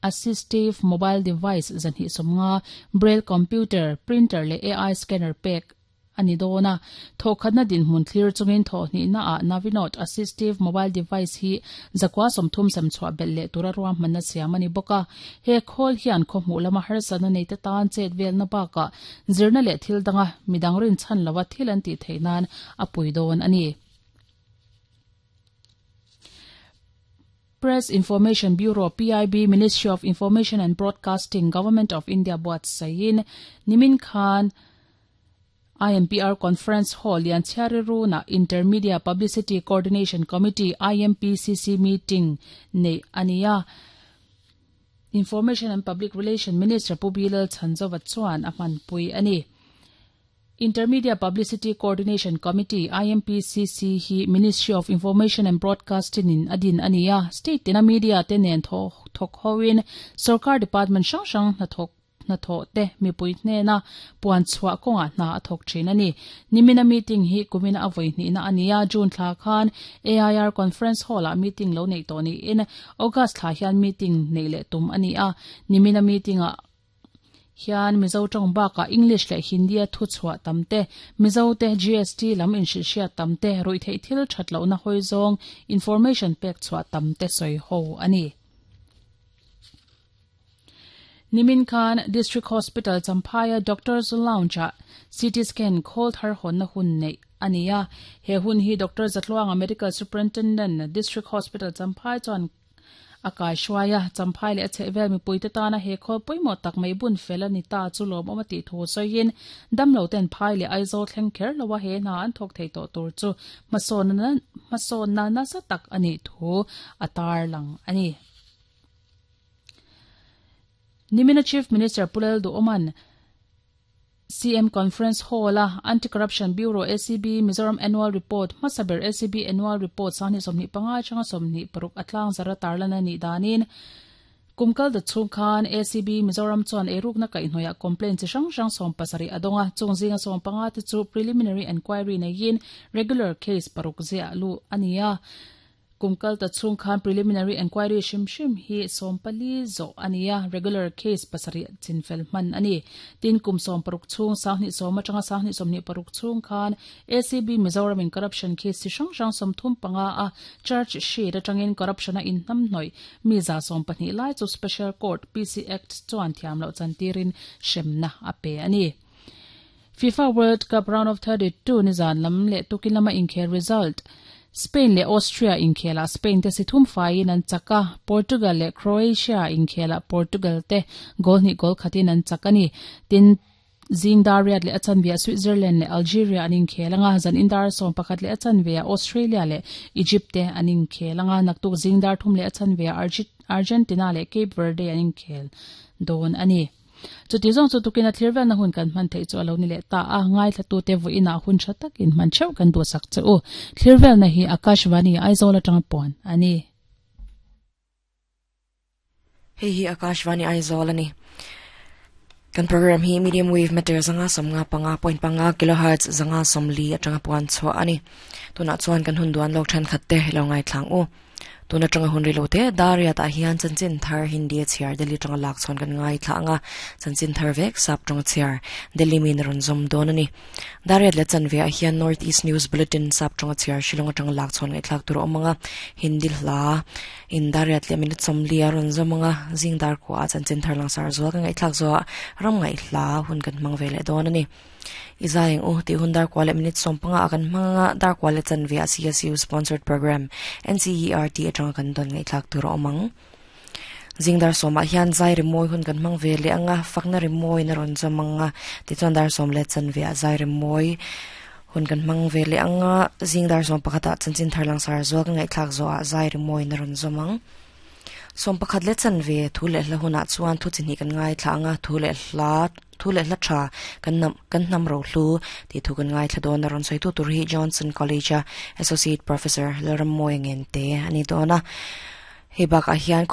Assistive Mobile Device 250, Braille Computer, Printer leh AI Scanner pek a ni dawn a. Thawhkhatna dinhmun thlir chungin thawhhnihna ah Navinote Assistive Mobile Device hi 930 sem chhuah belh leh tura ruahmanna siam a ni bawk a. He khawl hian khawhmuh lama harsatna neite tan chet velna bakah zirna leh thil danga midang rinchhan lova thil an tih theih nan a pui dawn a ni. Press Information Bureau, PIB, Ministry of Information and Broadcasting, Government of India buatsaihin nimin khan IMPR Conference Hall Lianchhiari Runa Intermedia Publicity Coordination Committee, IMPCC, meeting neih a ni a. Information and Public Relation Minister Pu Bilal Chhanzova chuan a hmanpui a ni. Intermedia Publicity Coordination Committee, IMPCC, hi Ministry of Information and Broadcasting in a din a ni a, state tina media te nen thawk hoin sorkar department hrang hrang hnathawk hnathawh te mipui hnena puan chhuah kawngah hna a thawk thin a ni. Nimina meeting hi kumina a vawi hnihna a ni a, June thla khan AIR Conference Hall-ah meeting lo neih tawh niin August thla hian meeting neih leh tum a ni a, nimina meeting-ah hian Mizo tawng bakah English leh Hindi-a thu chhuah tam te, Mizo te GST lam inhrilhhriat tam te, ruihtheih thil that lohna hawi zawng information pek chhuah tam te sawi ho a ni. Nimin khan District Hospital Champhaia Doctors Lounge-ah CT scan khawl thar hawnna hun neih a ni a. He hun hi Doctor Zatluanga Medical Superintendent, District Hospital Champhai chuan a kaihruai a. Champhai leh a chhehvel mipuite tana he khawl pawimawh tak mai bun fel a ni ta chu lawmawm a tih thu sawiin damlo ten phai leh Aizawl thleng kher loa he hna an thawk thei tawh tur chu hmasawnna nasa tak a nih thu a tarlang a ni. Nimina Chief Minister Pu Lalduhawma'n CM Conference Hall-a Anti-Corruption Bureau, ACB, Mizoram Annual Report hmasa ber ACB Annual Report 2025 atanga 26 a tlangzar a tarlan a nih danin kum kal dat chhung khan ACB Mizoram chuan eirukna kaihhnawihah complaint chi hrang hrang 70 a dawng a, chung zinga 15 te chu preliminary enquiry neiin regular case paruk ziah luh a ni a. Kum kal ta chhung khan preliminary enquiry hrim hrim hi 14 zawh a ni a, regular case pasarih chinfel hman a ni. Tin, kum 60 chhung, 2010 atanga 2026 chhung khan ACB Mizoram in corruption case chi hrang hrang 35 a charge sheet atangin corruption a inhnamhnawih mi 120 lai chu Special Court, PC Act, chuan thiam loh chantirin hremna a pe a ni. Fifa World Cup Round of 32 nizan lam leh tukin lama inkhel result Spain leh Austria inkhelah Spain te si thum faiin an chak a, Portugal leh Croatia inkhelah Portugal te goal hnih goal khatin an chak a ni. Tin, zing dar riat leh a chanveah Switzerland leh Algeria an inkhel anga, zan in dar 11 leh a chanveah Australia leh Egypt te an inkhel anga, naktuk zing dar thum leh a chanveah Argentina leh Cape Verde an inkhel dawn a ni. Chuti zawng chu tukin a thlir velna hun kan hman theih chu a lo ni leh ta a, ngaithlatute vawiinah hun tha takin hman theuh kan duhsak che u. Thlir velna hi Akashvani Aizawl atanga puan a ni. Hei hi Akashvani Aizawl a ni. Kan program hi medium wave meter 155.5 kilohertz 140 atanga puan chhuah a ni. Tunah chuan kan hun duan lawk thenkhat te lo ngaithlang u. Tun atanga hun rilo te Dariat ah hian chanchin thar Hindi a chhiar Delhi atanga lak chhawn kan ngaithla ang a, chanchin thar vek sap tawng a chhiar Delhi mi in a rawn zawm dawn a ni. Dariat leh chanve ah hian North East News Bulletin sap tawng a chhiar Shillong atanga lak chhawn ngaihthlak tur a awm ang a, Hindi hla in Dariat leh minute 40 a rawn zawm ang a, zing dar kua ah chanchin thar langsar zual kan ngaihthlak zawh ah ram ngaihhla hun kan hmang ve leh dawn a ni. I zai ang u tih hun dar kua leh minute 15 ah kan hmang anga dar kua leh chanve ah CSU sponsored program NCERT atanga kan dawn ngaihthlak tur a awm ang. Zing dar sawmah hian zai rimawi hun kan hmang ve leh anga fakna rimawi in a rawn zawm anga tichuan dar sawm leh chanve ah zai rimawi hun kan hmang ve leh anga zing dar sawm pakhat ah chanchin thar langsar zual kan ngaihthlak zawh ah zai rimawi in a rawn zawm ang. 11 leh chanve thu leh hla hunah chuan thu chi hnih kan ngaithla anga thu leh hla Thu leh hla tha kan hnam kan hnam rohlu tih thu kan ngaithla dawn a, rawn sawitu tur hi Johnson College a Associate Professor Lalrammawi Ngente a ni dawn a, hei bakah hian.